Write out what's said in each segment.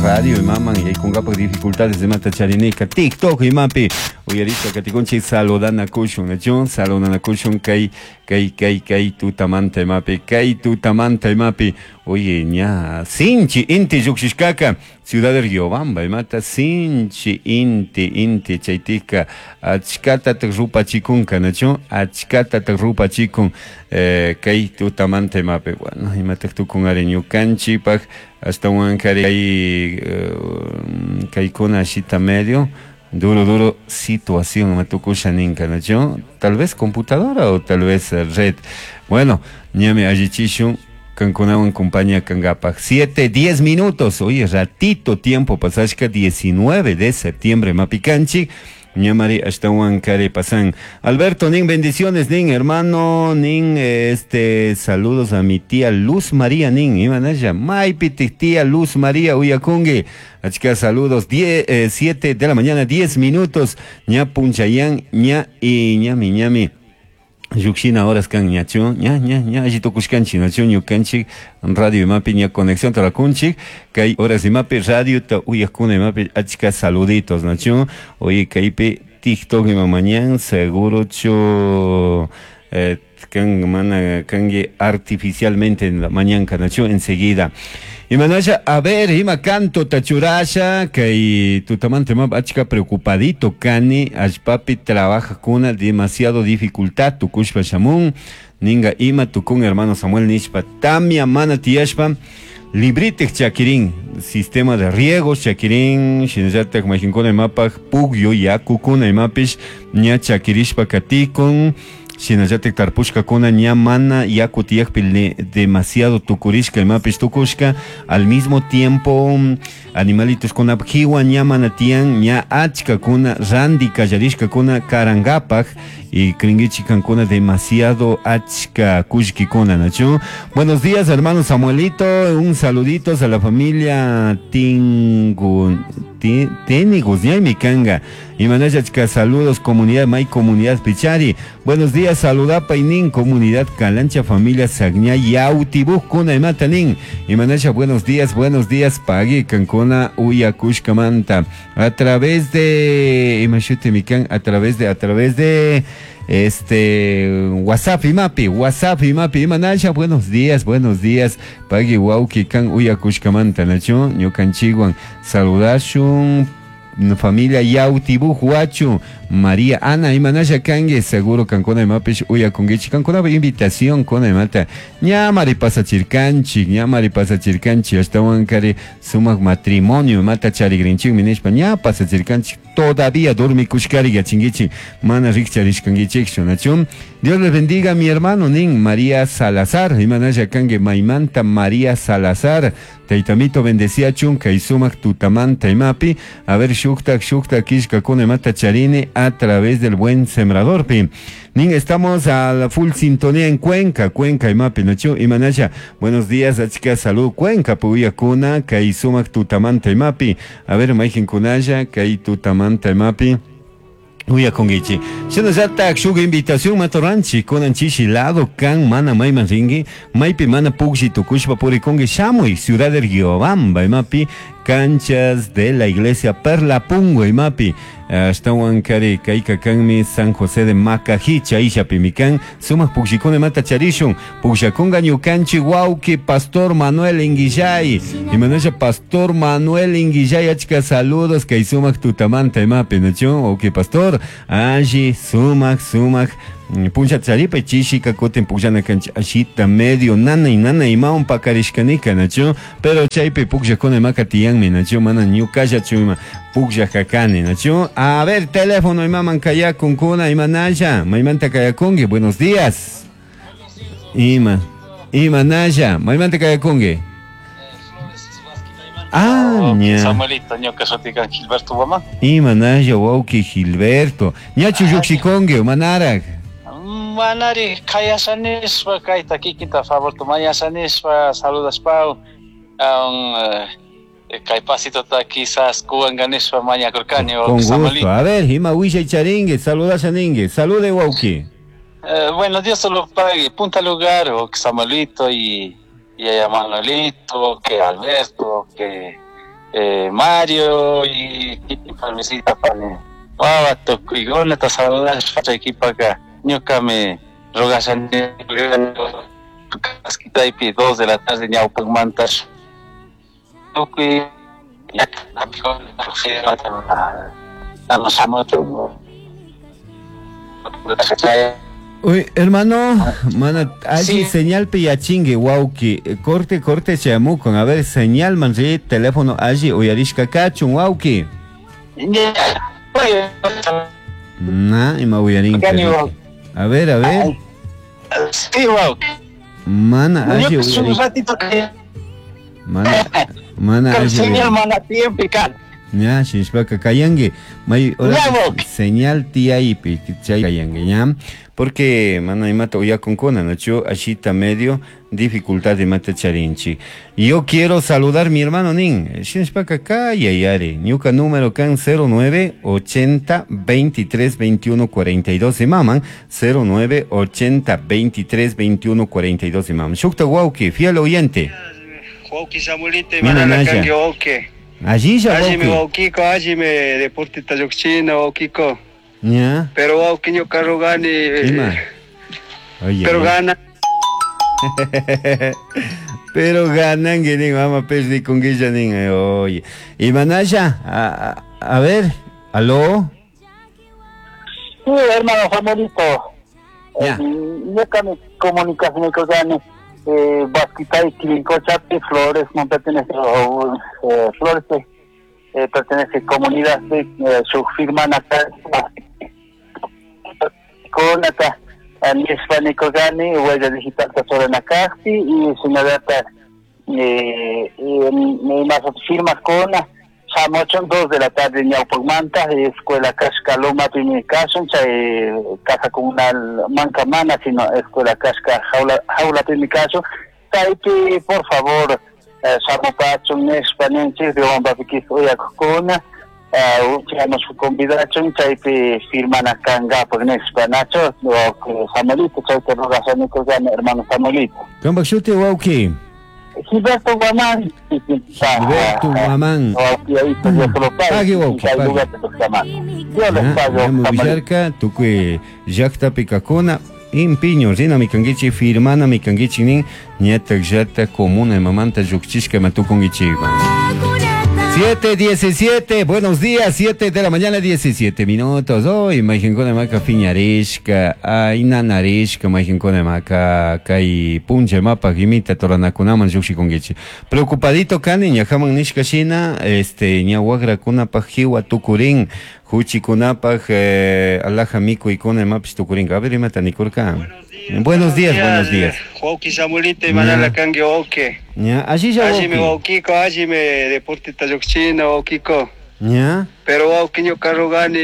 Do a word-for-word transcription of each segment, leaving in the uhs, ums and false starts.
Radio imaman yaykunkapaq dificultades imata charinika TikTok imapi uyarishpa katikunchik saludanakushun, nachu? Saludanakushun kay kay kay kay tutamanta imapi, kay tutamanta imapi. Oye, ña sinchi inti llukshishkaka Ciudad de Riobamba imata sinchi inti inti chaytika achkatatak rupachikunka, nachu? Achkatatak rupachikun eh, kay tutamanta imapi. Bueno, imatak tukun ari ñukanchikpak ashtawankari kay eh, kaykuna ashita medio duro duro situación matukusha ninka, nachu? Tal vez computadora o tal vez red. Bueno, ñami allichishun kankunawan compañía kangapak. Siete, diez minutos. Oye, ratito tiempo pasashka diecinueve de septiembre mapikanchik. Ñamari ashtawan kari pasan. Alberto, nin bendiciones, nin hermano, nin este saludos a mi tía Luz María, nin imanaya, maypi tía Luz María uyakungi. Achka saludos, diez, eh, siete de la mañana, diez minutos, ña punchayan, ña y ñami ñami. Llukshina horas kan ñachu, ña ña ña alli tukushkanchik, nachu ñukanchik radio imapi ña conexión tarakunchik, kay horas imapi radio ta uyakuna imapi achka saluditos, nachu. Oye, kaypi TikTok ima mañan seguro chu eh, kan mana kangi artificialmente en la mañana, nachu, enseguida. Imanasha, a ver, ima canto tachurasha, kay tutamante ma achka preocupadito kani, allpapi trabaja kuna demasiado dificultad, tukushpa shamun, ninga ima tukun hermano Samuel nishpa, tamia mana tiyashpa, libritek chakirin, sistema de riego chakirin, shinallatak mayqinkuna imapaj pugyo yakukuna imapish, ña chakirishpa katikun, shinallatak tarpushkakuna ña mana yaku tiyakpi demasiado tukurishka imapish tukushka, al mismo tiempo animalitos kuna jiwa ña mana tiyan, ña achkakuna randi kallarishkakuna karangapak y kringichi kankuna demasiado achka kullkikuna, nachu. Buenos días, hermano Samuelito, un saludito a la familia Tingu Tenigus, ñaymi kanga. Imanasha achka saludos, comunidad May, comunidad Pichari. Buenos días, saludapa y nin, comunidad Calancha, familia Sagña, Yautibuj, kuna imata nin. Imanasha, buenos días, buenos días, pagui, kankuna, uyakushkamanta. A través de, imashute mikan, a través de, a través de, este, WhatsApp imapi, WhatsApp imapi, imanasha, buenos días, buenos días, pagui wauki kan uyakushkamanta, nachu, ñukanchikwan, saludashun, familia Yautibuj, Huachu, María Ana, imanasha kangi, seguro kankuna imapish uyakungichik, kankuna invitación kuna imata, ñamari pasachirkanchik, ñamari pasachirkanchik, ashtawan kari sumak matrimonio imata charigrinchikmi nishpa, ña pasachirkanchik, todavía dormikushkari yachingichik, mana rikcharishkangichikchu, nachu. Dios les bendiga, mi hermano, nin María Salazar, imanasha kangi maymanta María Salazar, taytamito bendeciachun, kay sumak tutamanta imapi, a ver shuktak shuktak kishkakuna imata charini a través del buen sembrador pi. Nin, estamos a la full sintonía en Cuenca, Cuenca imapi, nachu, imanasha, buenos días, achka salud, Cuenca, puyakuna, kay sumak tutamanta imapi, a ver, mayqin kunalla, kay tutamanta imapi. Uyakungichi. Shinallatak shuk invitación matoranchi kunan chishi lado kan mana mayman ringi, maypi mana pukshi tukushpa purikungi shamuy Ciudad de Riobamba imapi canchas de la iglesia Perla Pungo imapi ashtawan kari kayka kanmi San José de Macají chayshapi mikan sumak pukshikuna imata charishun pukshakunga ñukanchik wawki Pastor Manuel Inguillay imanasha Pastor Manuel Inguillay achka saludos kay sumak tutamanta imapi nachu wawki Pastor alli sumak sumak puncha charipa chishika kutin pukllana kanchik ashita medio nanay nanay imawan pakarishkanika nachu pero chaypi pukllakuna imaka tiyanmi nachu mana ñukallachu ima pukllaka kani nachu. A ver, teléfono imaman kayakunkuna imanalla maymanta kayakunki, buenos días. Ima imanalla maymanta kayakunki. Ah, ña. Samuelito, ñuka shutika Gilberto Guamán. Imanalla wawki Gilberto. Ñachu llukshikunki manarak. Manari kayashanispa kayta kikinta favorta mañashanispa saludaspa um, kay pasitota quizás kuwanganispa mañakurkani. Con gusto. A ver, ima wishay charingue, saludashaningue. Salude wawki. Eh, bueno, Dios te lo pague. Punta lugar, o Samuelito y y a Manuelito, que Alberto, que eh, Mario y parmisita pani wawa tukuykuna saludashpa chay kipaka ñukami rogashani Kaskitaypi dos de la tarde ñawpakmanta tukuy Uy, hermano, mana, allí sí. Señal pillachingue, wauki, corte, corte, chamucon, a ver, señal, manri, teléfono, allí, uyarishka kachun, wauki. Na, ima uyarinka. A ver, a ver. Sí, wauki. Mana, allí uyarinka. Mana, mana, allí. Señal, mana, tiempo, Ya, shishpaka kayangue, may señal tiaipi, chay kayangue, ya. Porque mana imata uyakunkuna, nacho ashita medio dificultad de mata charinchi. Yo quiero saludar mi hermano nin, shinshpaka kaya yare, ñuka número kan cero nueve ochenta veintitrés veintiuno cuarenta y dos de maman, cero nueve ochenta veintitrés veintiuno cuarenta y dos de maman. Shukta wauki, fiel oyente. Wauki Samuelite, mana kanki wauki. Allí ya allí me waukico, allí me deporte tayokchina waukico. Ya. Pero wauki ñuka rogani. Oye, pero gana. Pero ganan que nin mama perdi con guilla nin oye. Y manaya, a, a, a ver, aló. Sí, hermano Samuelito. Ya. Ñuka mi comunicación con Eh, Basquitay, Quirincochapi, Flores, no pertenece, eh, Flores eh, pertenece a comunidad, eh, su firma acá, con acá, Nispanicogani, huella digital Tazoranacasti, y señorata, eh, y más firmas con Samochon, dos de la tarde, Ñaupagmanta, Escuela Casca Loma, Pimicasun, Chay, Casa Comunal Mancamana, sino Escuela Casca Jaula, Jaula Pimicasun, Taipi, por favor, Samopachun, Nespanenchis, Riombapiquis, Uyakuna, Uchamos convidachun, Chaypi, firman acá en Gapo, Nespanacho, Samuelito, Chayte Rogasanico, hermano Samuelito. Cambaxute, Wauki. Gilberto Guamán. Gilberto Guamán. Pague, wauki, pague. Villarca, tukui llaqta pikakuna, impiño, rina mikankichi, firmana mikankichi nin, ñatak llata comuna mamanta lluqchishka matukunkichikman. siete diecisiete, buenos días, siete de la mañana, diecisiete minutos. Hoy, majinkuna maka fiñarishka, ay nanarishka, majinkuna maka kay puncha mapa gimita toranakunaman lluqshikunkichik. Preocupadito kani, ñajaman nishka shina, este, ña wagrakunapaj jiwa tukurin, huchikunapaj eh, alaja mikuykuna imapish tukurinka. A ver, imata nikurka. Buenos días, buenos días. Wauki Samuelito, manala kanki wauki. Ya, allí ya allí me waukico, allí me deporte tayokchina waukico. Ya. Pero wauki ñuka rogani,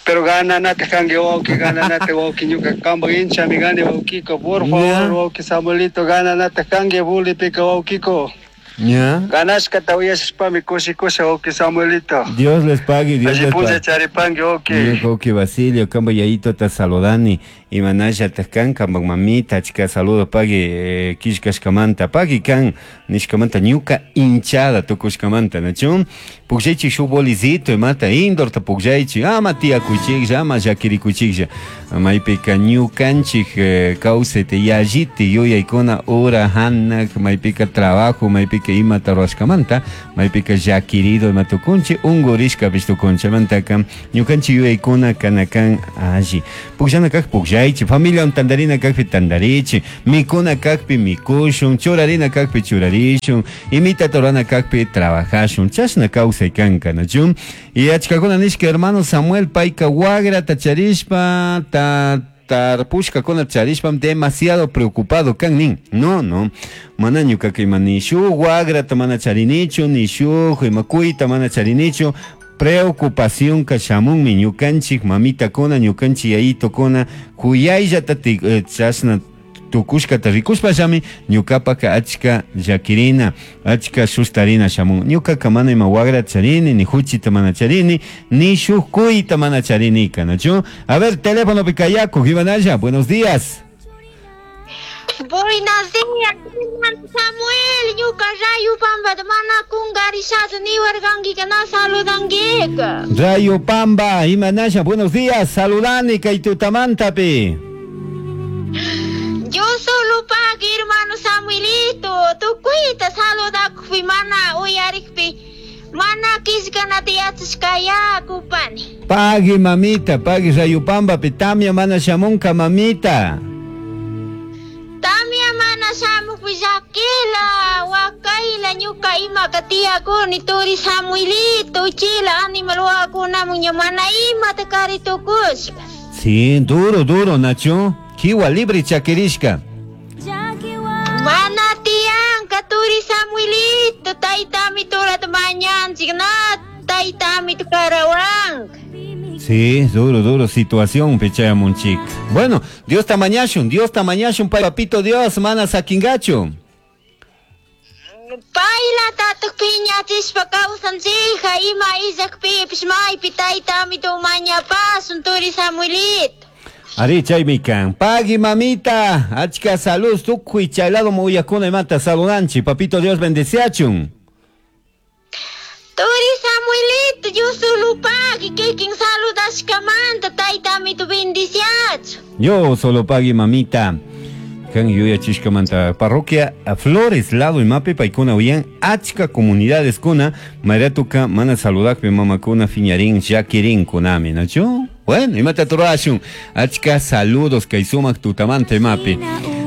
pero gana nate kanki wauki, gana nate wauki ñuka kamba hincha mi gane waukico, por favor wauki Samuelito, gana nate kanki bulipika waukico. Ya. Ganashka tawiyashpami kushikusha wauki Samuelito. Dios les pague, Dios les pague. Charipangue wauki. Wauki Basilio, kamba yayito ta saludani, imanasha taskan kamba mamita, chica saludo pague, kishkashkamanta, pague kan, nishkamanta ñuka hinchada tukushkamanta, nachun? Pukllaychik shuk bolizito, imata indorta pukllaychik, ama tiyakuchiklla, ama llakirikuchiklla. Maypika ñukanchik kawsayta yalliti yuyaykuna ura hanak, maypika trabajo, maypika imata ruwashkamanta, maypika llakirido ima tukunchik, unqurishkapish tukunchik, mantaka ñukanchik yuyaykuna kanakan alli. Pukllana kaq pukllaychik, familiawan tantarina kaqpi tantarichik, mikuna kaqpi mikushun, churarina kaqpi churarishun, imitata rurana kaqpi trabajashun, chashna kawsay kanka, nachu? Y achkakuna nishka hermano Samuel payka wagrata charishpa, ta tarpushkakuna charishpam demasiado preocupado kan nin. No, no. Mana ñukaka ima ni shuk wagrata mana charinichu, ni shuk ima kuyta mana charinichu. Preocupación ka shamunmi ñukanchik mamitakuna, ñukanchik yayitokuna, kuyayllata chashna tukushkata rikushpallami ñukapaka achka llakirina, achka sustarina shamun. Ñukaka mana ima wagra charini, ni huchita mana charini, ni shuk kuyta mana charinika, nachu? A ver, teléfono picayaco, Gibanaya, buenos días. Buenos días, Samuel, ñuka rayu pambata mana Rishachu niwarkanki na saludankika. Rayo Pamba, imanasha, buenos días, saludani kay tutamantapi. Yo solo pagui hermano Samuelito, tukuyta saludakpi mana uyarikpi, mana kishkanata yachashkaya kupani. Pagui mamita, pagui Rayo Pambapi, tamia mana shamunka mamita. Tamia mana shamukpi llakila, wakayla ñuka imaka tiyakuni turi Samuelito, uchila animal wawakunamun ña mana imata kari tukushka. Sí, duro, duro, Nacho. Kiwa libre chakirishka. Mana tiyanka turi Samuelito, taytami turata mañanchik na taytami karawanka. Sí, duro, duro situación, pichayamunchik. Bueno, Dios tamañashun, Dios tamañashun, papito Dios, mana sakingachu. Paylatataq piñachishpa kawsanchija, ima illakpipish maypi taytami mañapasun turi Samuelito. Ari chaymi kan. Pagui mamita, achka salud, tukuy chaylado muyakuna imata saludanchi, papito Dios bendeciachun. Turi Samuelito, yo solo pagui, kikin saludashkamanta, taytami tu bendiciachu. Yo solo pagui mamita. Kan yuyachishkamanta parroquia Flores lado imapi paykuna uyan achka comunidades kuna mayratuka mana saludakpi mamakuna fiñarin llakirin kunami, ¿nachu? Bueno, imata turashun achka saludos kay sumak tutamanta imapi.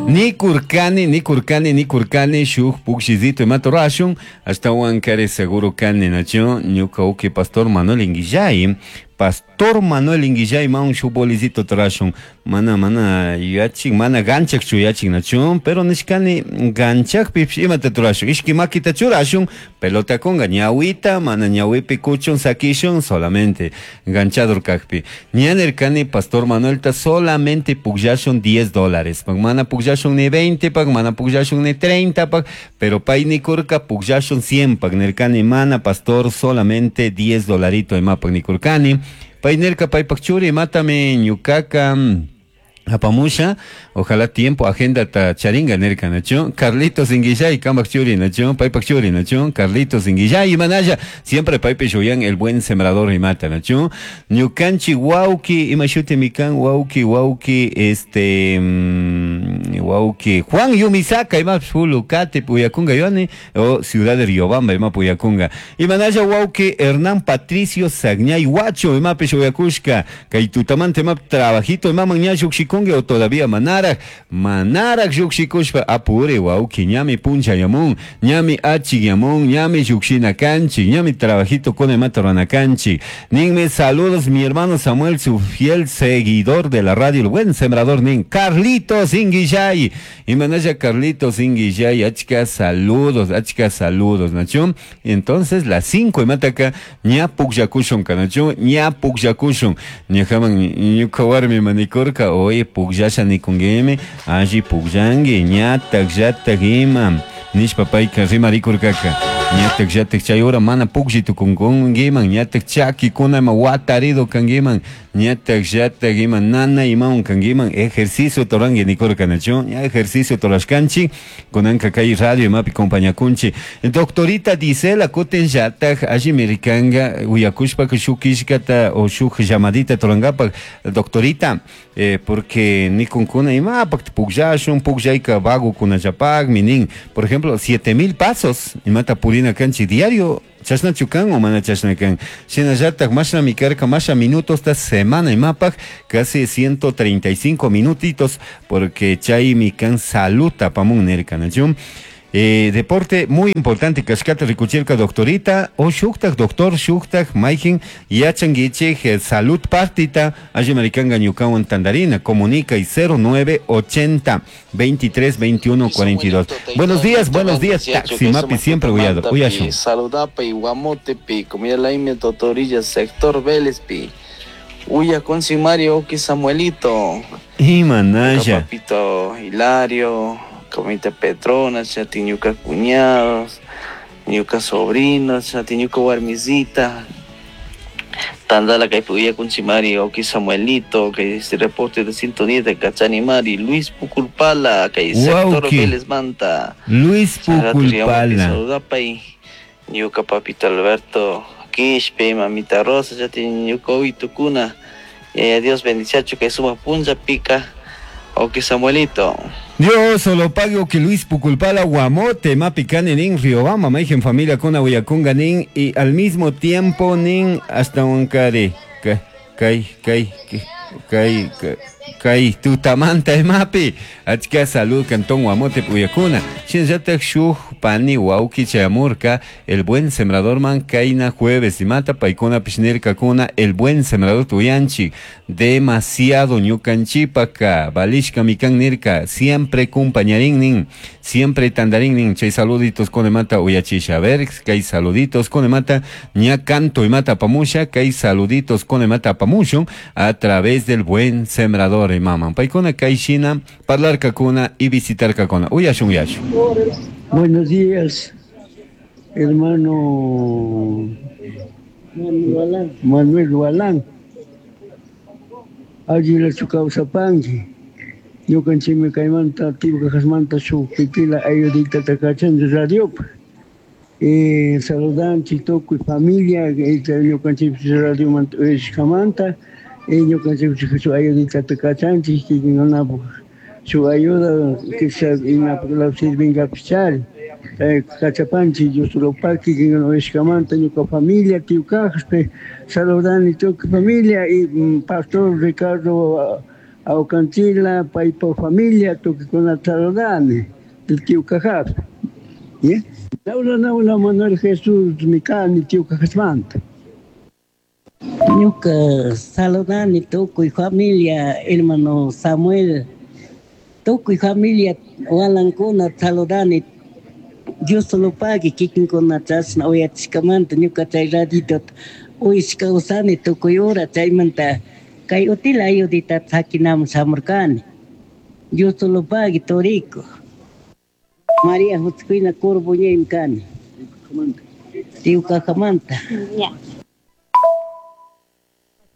Ni kurkani, ni kurkani, ni kurkani, shuk pukshizito imata rashun, hasta kare seguro kani, nachu? Ñuka uki pastor Manuel Inguillay, Pastor Manuel Inguillay maun shuk bolizito trashun, mana mana yachik, mana ganchak chuyachik nachu, pero nishkani ganchak pipsh imata turashun, ishki makita churashun, pelota kunga ñawita, mana ñawipi kuchun sakishun, solamente ganchador kakpi. Ñanerkani Pastor Manuel ta solamente pukllashun diez dólares, pag mana pukllashun ni veinte pag, mana pukllashun ni treinta pag, pero pay nikurka pukllashun cien pag, nerkani mana pastor solamente diez dolarito imapag nikurkani. Paynerka paypak churi matame ñukaka apamusha, ojalá tiempo, agenda ta charinga nerka nacho, Carlitos Inguillay, kambak churi nacho, paypak churi nacho, Carlitos Inguillay, manaya, siempre paype shuyan el buen sembrador imata nacho, ñukanchi wauki, imashuti mikan wauki, wauki, este, mm, wauki, Juan Yumisaka, ima Pulukate, Puyakunga, yoani, o Ciudad de Riobamba, ima Puyakunga, imanaya wauki, Hernán Patricio Sagñay Huacho, ima peshuyakushka, kay tutamante ima trabajito, ima mañashukshikunga, o todavía manarak, manarak yukshikushpa apure wauki, ñami puncha yamun, ñami achik yamun, ñami yukshina kanchi, ñami trabajito con imata rana kanchi. Ninme saludos mi hermano Samuel, su fiel seguidor de la radio, el buen sembrador nin, Carlitos Inguillay, y manaya Carlitos Inguillay, achka saludos, achka saludos, nacho. Entonces las cinco y mataka, ña pukyakushun kanacho, ña pukyakushun, ñajaman ñuka warmi manikurka, oye pukyasha nikungemi, alli pukllanki, ñatak llatak ima, nishpa payka rimarikurkaka, ñatak llatak chay hora mana puklli tukunkunkiman, ñatak chakikuna ima watarido kankiman, ñatak llatak ima nana imawan kankiman, ejercicio toranki nikurka nachu, ña ejercicio torashkanchik, kunanka kay radio imapi compañakunchik. Doctorita Disela kutin llatak alli mirikanga uyakushpaka shuk killkata o shuk llamadita torankapak, doctorita, eh, porque nikunkuna imapak pukllashun, pukllayka vagokunallapakmi nin, por ejemplo, siete mil pasos, imata purina kanchik diario, chashnachu kan o mana chashna kan, shinallatak mashnami karka masha minutos ta semana imapak, casi ciento treinta y cinco minutitos, porque chaymi kan salud tapamun nirka, nachu. Eh, deporte muy importante, kashkata rikuchirka doctorita, o shuktak, doctor shuktak, mayjin, yachanguichik, eh, salud partita, alli maricanga ñukawan tandarina, comunica y cero nueve ochenta, veintitrés, veintiuno, cuarenta y dos. Buenos días, buenos días, Taxi Mapi, siempre uyado, uyashun. Saludapa y guamotepi, comida laime totorilla, sector Vélez pi. Uya con Simario, oki Samuelito. Y manaya. Papito Hilario. Comita Petrona, chatiñuca cuñados, ñuca sobrinos, chatiñuca warmisita, Tandala Caipuya Kunchimari, Oki Samuelito, que este reporte de sintonía de Cachanimari, Luis Puculpala, que sector Vélez Manta. Luis Puculpala. Saludapa y Ñuka papito Alberto Quishpe, mamita Rosa, chatin ñuka uitukuna. Yaya Dios bendiciachu kay sumak punlla pika. Oki Samuelito. Dios solo pague que Luis Puculpala Guamote mapicane nin Riobamba maigen familia con nin y al mismo tiempo nin hasta un cari kai kai kai kai tutamanta mapi achka salud cantón Guamote puyakuna shinllatak shuj pani wauki chayamurka el buen sembrador man kaina jueves y mata paikuna pishnirka kuna el buen sembrador tuyanchi demasiado ñukanchipaka valishka mikan nirka siempre compañarín nin siempre tandarín nin chay saluditos con mata uyachisha a ver kay saluditos con mata ña canto y mata pamusha kay saluditos con mata pamushun a través del buen sembrador y mama paikuna kay shina parlar kakuna y visitar kakuna uyashun uyashun. Buenos días, hermano Manuel Walán. Allí su causa panqui. Ñukanchikmi kaymanta Tibcajasmanta shuk pitila ayudita takachan radiopa. Eh, saludanchik tukuy familia ñukanchik radiomanta uyashkamanta ñukanchik shuk ayudita takachanchik kikinkunapuk su ayuda que se imapuk sirvinkapichari. Kachapanchik Dios lo pague kikinkunapuk ñuka familia Tiwcajaspi saludani tukuy familia y pastor Ricardo Aucanchila, paypa familia, tukuykuna saludani Tiwcajaspi. ¿Ya? Naula naula Manuel Jesús mikani Tiwcajasmanta. Ñuka saludani tukuy familia hermano Samuel, tukuy familia walankuna saludani Dios lo pague kikinkuna chashna uyachishkamanta ñuka chay raditota uyashka usani tukuy hora chaymanta kay utila ayudita sakinaman shamurkani Dios lo pague turiku María Josefina Corbuñaymi kani Tiwcajamanta.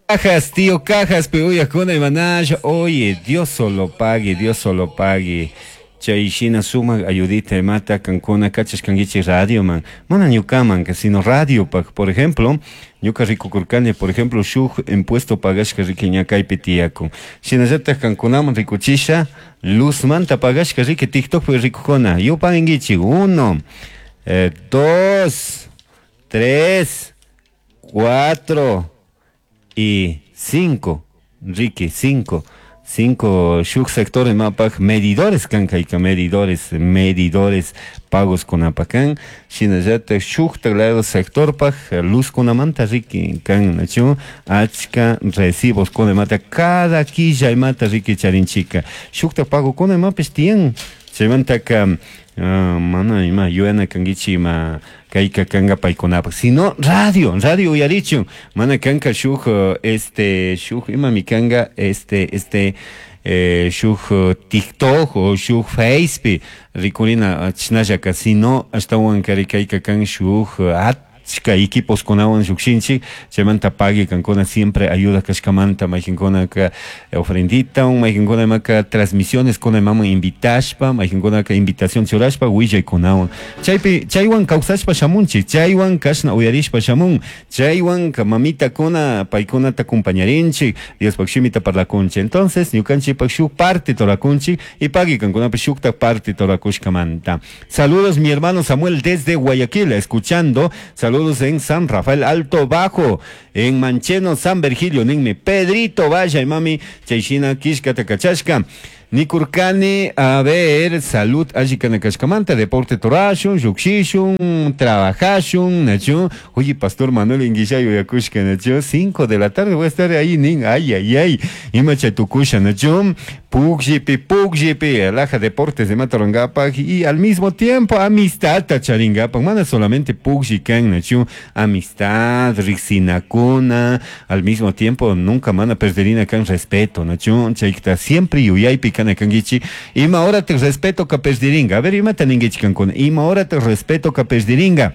Cajas, tío Cajas, pero y manash, oye, Dios solo pague, Dios solo pague. Chay shina sumak ayudita mata kankuna kachashkankichik radio man mana ñukaman sino radio pak por ejemplo ñuka rikukurkani por ejemplo shuk impuesto pagashka riki ña kaypi tiyakun shinallatak kankunaman rikuchisha luzmanta pagashka riki TikTokpi rikukuna yupankichik uno eh, dos tres cuatro y cinco riki cinco cinco shuk sectores mapak medidores kan kayka medidores medidores pagos kunapakan shinallatak shuktak lado sectorpak luz kunamanta riki kan nachu achka recibos kunamanta cada quilla imata riki charinchika shuktak pago kunamapish tiyan chaymantaka uh, mana ima yuyana kankichik ima kayka kanka paykunapak sino radio radio uyarichun mana kanka shuk este shuk imami kanka este este eh, shuk TikTok o shuk Facepi rikurina chinallaka sino ashtawan kari kayka kan shuk achka equipos kunawan llukshinchik chaymanta pagui kankuna siempre ayuda kashkamanta mayqinkunaka ofrendita mayqinkuna imaka transmisiones kuna imaman invitashpa mayqinkunaka invitación churashpa willaykunawan chaypi chaywan kawsashpa shamunchik chaywan kashna uyarishpa shamun chaywan mamitakuna paykunata acompañarinchik Diospaq shimita parlakunchik entonces ñukanchikpak shuk parte torakunchik y pagui kankunapish shukta parte torakushkamanta. Saludos mi hermano Samuel desde Guayaquil escuchando. Saludos en San Rafael Alto Bajo, en Mancheno, San Virgilio, ninmi Pedrito, vaya y mami, chayshina, kishka, takachashka. Nikurkani, a ver, salud, alli kanakashkamanta, deporte torashun, llukshishun, trabajashun, nachu. Oye, Pastor Manuel Inguillayo yakushka, nachu, cinco de la tarde voy a estar ahí, nin, ay, ay, ay, ima chaytukusha, nachu, pukllpi, pukllpi, alaja deportes de Matarangapa y al mismo tiempo amistad tacharingapa, mana solamente puklli kan, nachu, amistad, riksinakuna, al mismo tiempo nunca mana perderina kan respeto, nachu, chaykta siempre yuyaypi kana kankichik, ima hora te respeto ka perdiringa, a ver, ima taninkichik kankuna, ima hora te respeto ka perdiringa.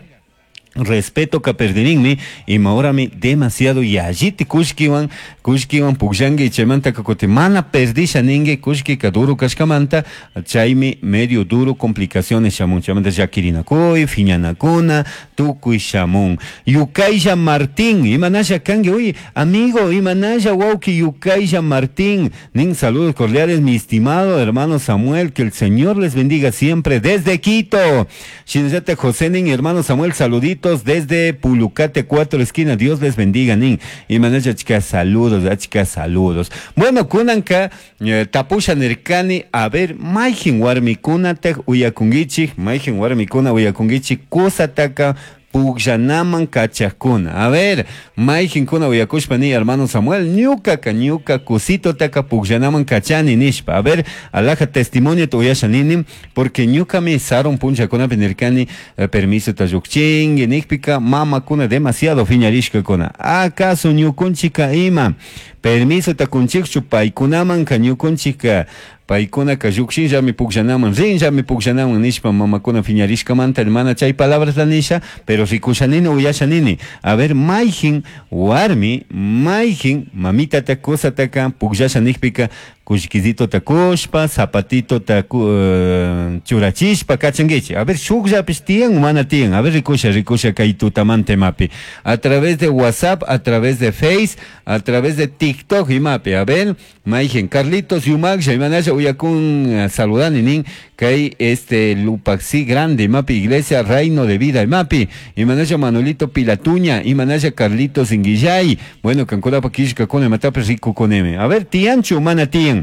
Respeto ka perdirinmi imahorami demasiado yalliti kullkiwan kullkiwan pukllanki chaymanta kutin mana perdisha ninki kullkika duro kashkamanta chaymi medio duro complicaciones shamun chaymanta llakirinakuy phiñanakuna tukuy shamun. Yukaylla Martín, imanalla kanki, uy amigo, imanalla wawki Yukaylla Martín nin, saludos cordiales mi estimado hermano Samuel, que el Señor les bendiga siempre desde Quito. Shinallata José nin, hermano Samuel, saluditos desde Pulucate cuatro esquina, Dios les bendiga nin, imanalla chica saludos, achka saludos. Bueno, kunanka eh, tapusha nirkani, a ver, mayjin warmikunataq uyakunkichik, mayjin warmikuna uyakunkichik kusataka pukllanaman kachakuna. A ver, mayjinkuna uyakushpa ni hermano Samuel, ñukaka ñuka kusitotaka pukllanaman kachani nishpa. A ver, alaja testimonio uyasha nini, porque ñukami sarun punchakunapi nirkani eh, permiso ta llukchinki nikpika mamakuna demasiado phiñarishkakuna. ¿Acaso ñukunchika ima permiso ta kunchikchu paykunamanka ñukunchika paykunaka llukshinllami pukllanaman rinllami pukllanaman nishpa mamakuna phiñarishkamanta hermana chay palabrasta nisha, pero rikushanini uyashanini. A ver, mayjin warmi mayjin mamitata kusataka pukllasha nikpika kullkisitota kushpa zapatitota uh, churachishpa kachankichik. A ver, shukllapish tiyan mana tiyan. A ver, rikusha rikusha kay tutamanta imapi a través de WhatsApp, a través de Face, a través de TikTok imapi. A ver, mayjin Carlitos Yumaksha imanasha uyakun saludani nin kay este Lupaxi grande imapi iglesia Reino de Vida imapi imanasha Manuelito Pilatuña imanasha Carlitos Inguillay. Bueno, kankunapa killkakuna imatapish rikukunimi. A ver, tiyanchu mana tiyan.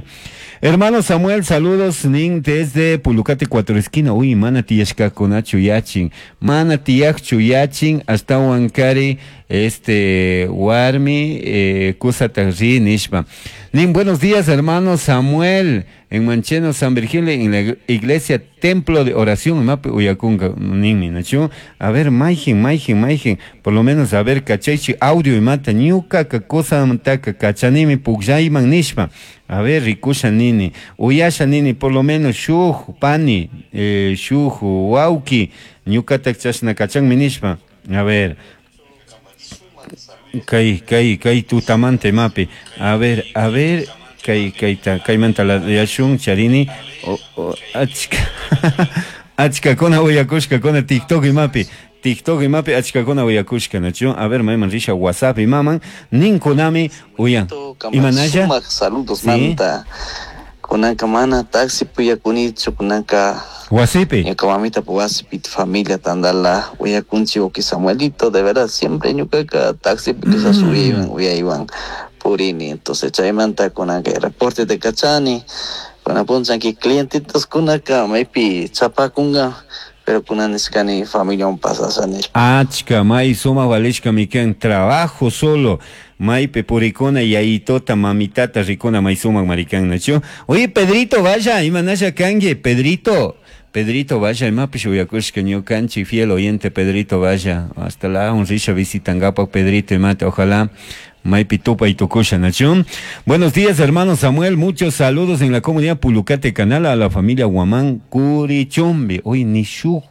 Hermano Samuel, saludos nin desde Pulucate cuatro esquina. Uy, mana tiyashkakunachu yachin, mana tiyakchu yachin hasta Huancari este warmi eh, kusata ri nishpa. Nin, buenos días hermano Samuel, en Mancheno San Virgilio, en la iglesia Templo de Oración, mapi uyakunka ninmi nachu. A ver, mayjin, mayjin, mayjin, por lo menos a ver, kachaychi audio imata ñuka ka kusamantaka kachanimi pukllayman nishpa. A ver, rikusha nini, uyasha nini, por lo menos shuj pani, eh, shuj wawki, ñukata chashna kachanmi nishpa. A ver, kay kay kay tutamanta imapi. A ver, a ver, kay kayta kaymanta la yashun charini o, o, achka achkakuna uyakushkakuna TikTok imapi. TikTok imapi achkakuna uyakushka nachu. A ver, mayman risha WhatsApp imaman ninkunami uyan. Imanalla? Sumaq saludos Sí. manta. Kunanka mana taxi puyakunichu kunanka Wasipi. ñuka mamita wasipi familia tandala uyakunchi wawki Samuelito, de verdad siempre ñukaka taxipi quizás Mm. uyaywan uyaywan purini, entonces chaymanta kunanka reporte de kachani kunan punchanki clientitos kunaka maypi chapakunka, pero kunan nishkani familiawan pasasha nishpa. Achka may sumaq valishka mikan trabajo solo maypi purikuna yayitota mamitata rikuna may sumaq marikan nachu. Oye Pedrito vaya imanasha kanki Pedrito. Pedrito vaya imapish uyakushka ñukanchik fiel oyente Pedrito vaya hasta la un risha visitangapaq Pedrito imata, ojalá maypi tupay tukusha nachu. Buenos días hermano Samuel, muchos saludos en la comunidad Pulucate Canal a la familia Guamán Curichumbi. Hoy ni shu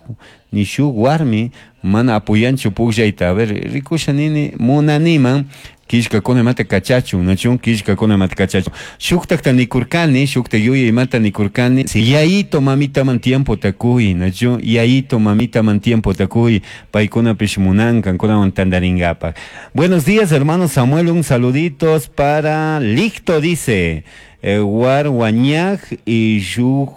ni shu warmi mana apoyanchu pukllayta. A ver, rikusha nini munaniman killkakuna imata kachachun nachun killkakuna imata kachachun shuktakta nikurkani shukta yuyay imata nikurkani yayito mamitaman tiempo takuy nachun yayito mamitaman tiempo takuy paykunapish munankan kunawan tantarinkapak. Buenos días hermano Samuel, un saluditos para Licto dice eh, war wañaj y shuj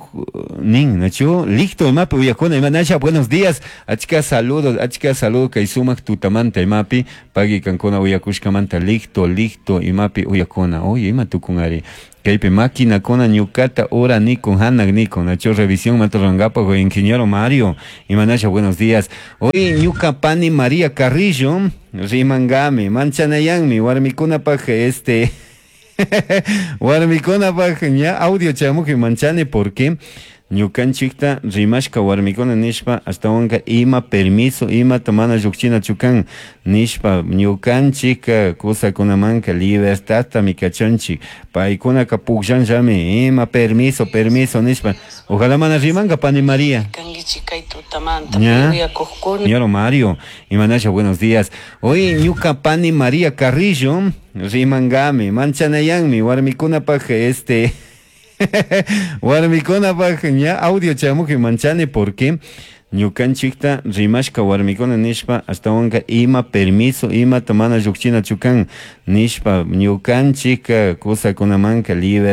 nin nachu Licto imapi uyakuna imanasha. Buenos días achka saludos achka saludos kay sumaq tutamanta imapi pagui kankuna uyakushkamanta Licto Licto imapi uyakuna. Oye ima tukun ari kaypi maquinakuna ñukata ura nikun hanak nikun nachu revisión maturangapaq ingeniero Mario imanasha. Buenos días. Hoy ñuka pani María Carrillo rimankami manchanayanmi warmikunapaq este warmikunapaq ña audio chamuji manchani porque Ñukanchikta rimashka warmikuna nishpa ashtawanka ima permiso imata mana llukchinachu kan nishpa ñukanchik kusakunamanka libertadtami kachanchik paykunaka pukllanllami ima permiso permiso nishpa ojalá mana rimanka pani María. Kankichik kay tutamanta ¿Ya? uyakuqkuna. Señor Mario, Imanasha, buenos días. Hoy ñuka pani María Carrillo rimangami, manchanayanmi, warmikunapaj este warmikunapaj ña audio chamuji manchani porque ñukanchikta rimashka warmikuna nishpa ashtawanka ima permiso imata mana llukchinachu kan nishpa ñukanchik kusakunamanka libertad.